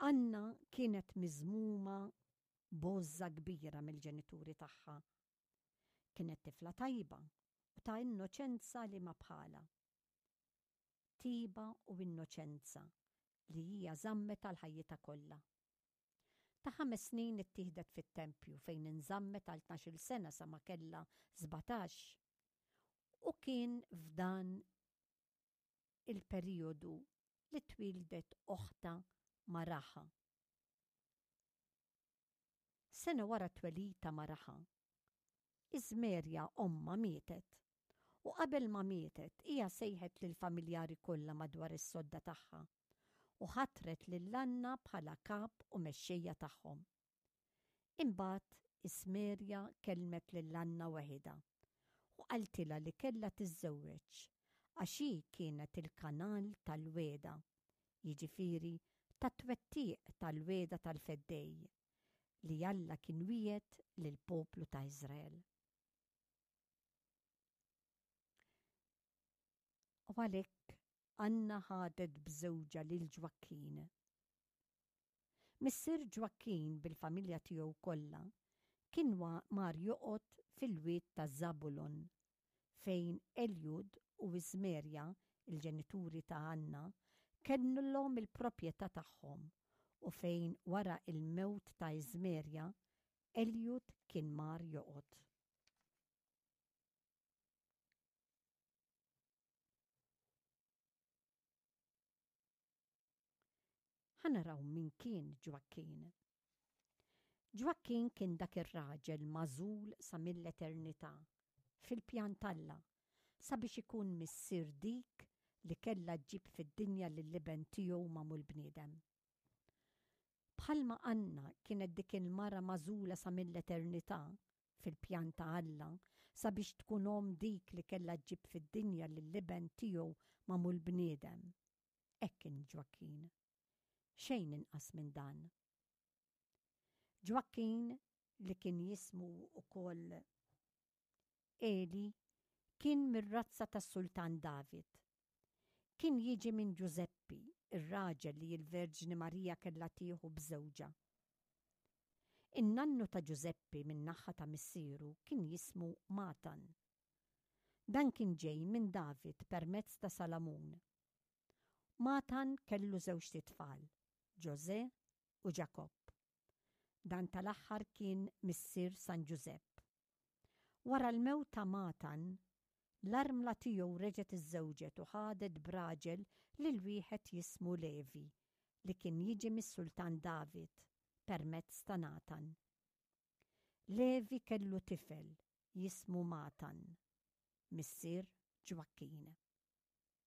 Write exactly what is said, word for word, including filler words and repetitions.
Anna kienet miżmuma b'għożża kbira mill-ġenituri tagħha. Kienet tifla tajba u ta' innoċenza li ma bħalha. Tiba u innoċenza li hija żammet għal ħajjitha kollha. Ta' ħames snin ittieħdet fit-tempju fejn inżammet għal tnax-il sena sa ma kellha sbatax. U kien f'dan il-perijodu li twieldet oħtha Maraha. Sena wara t-twelid ta' Maraha, Iżmerja ommha mietet. U qabel ma mietet, hija sejħet lill-familjari kollha madwar is-sodda tagħha u ħatret lil Anna bħala kap u mexxejja tagħhom. Imbagħad Ismerja kellmet lil Anna weħidha u qaltilha li kellha tiżżewweġ għax hi kienet il-kanal tal-wegħda, jiġifieri tat-twettiq tal-wegħda tal-Feddej li Alla kien wiegħed lill-poplu ta' Iżrael. U għalhekk Anna ħadet b'żewġha lil Ġwakkin. Missier Ġwakkin bil-familja tiegħu kollha kien mar joqgħod fil-wied ta' Żabulon, fejn Eljud u Iżmerja, il-ġenituri ta' Anna, kellhom il-proprjetà tagħhom u fejn wara l-mewt ta' Iżmerja, Eljud kien mar joqgħod. Ħa naraw min kien Ġwakkin. Ġwakkin kien dak ir-raġel magħżul sa mill-eternità, fil-pjan t'Alla, sabiex ikun missier dik li kellha ġġib fid-dinja lill-Iben tiegħu magħmul bniedem. Bħalma Anna kienet dik il-mara magħżula sa mill-eternità, fil-pjan ta' Alla, sabiex tkun omm dik li kellha ġġib fid-dinja lill-Iben tiegħu magħmul bniedem, hekk kien Ġwakkin. Xejn inqas minn dan. Ġwakkin, li kien jismu wkoll Eli, kien mir-razza tas-Sultan David. Kien jiġi minn Ġużeppi, ir-raġel li l-Verġni Marija kellha tieħu b'żewġha. In-nannu ta' Ġużeppi min-naħa ta' missieru kien jismu Matan. Dan kien ġej minn David permezz ta' Salamun. Matan kellu żewġt itfal, Ġożè u Ġakobb. Dan tal-aħħar kien missier San Ġużepp. Wara l-mewt ta' Matan, l-armla tiegħu reġgħet iżżewġet u ħadet b'raġel lil wieħed jismu Levi, li kien jiġi mis-sultan David permezz ta' Natan. Levi kellu tifel jismu Matan, missier Ġwakkin.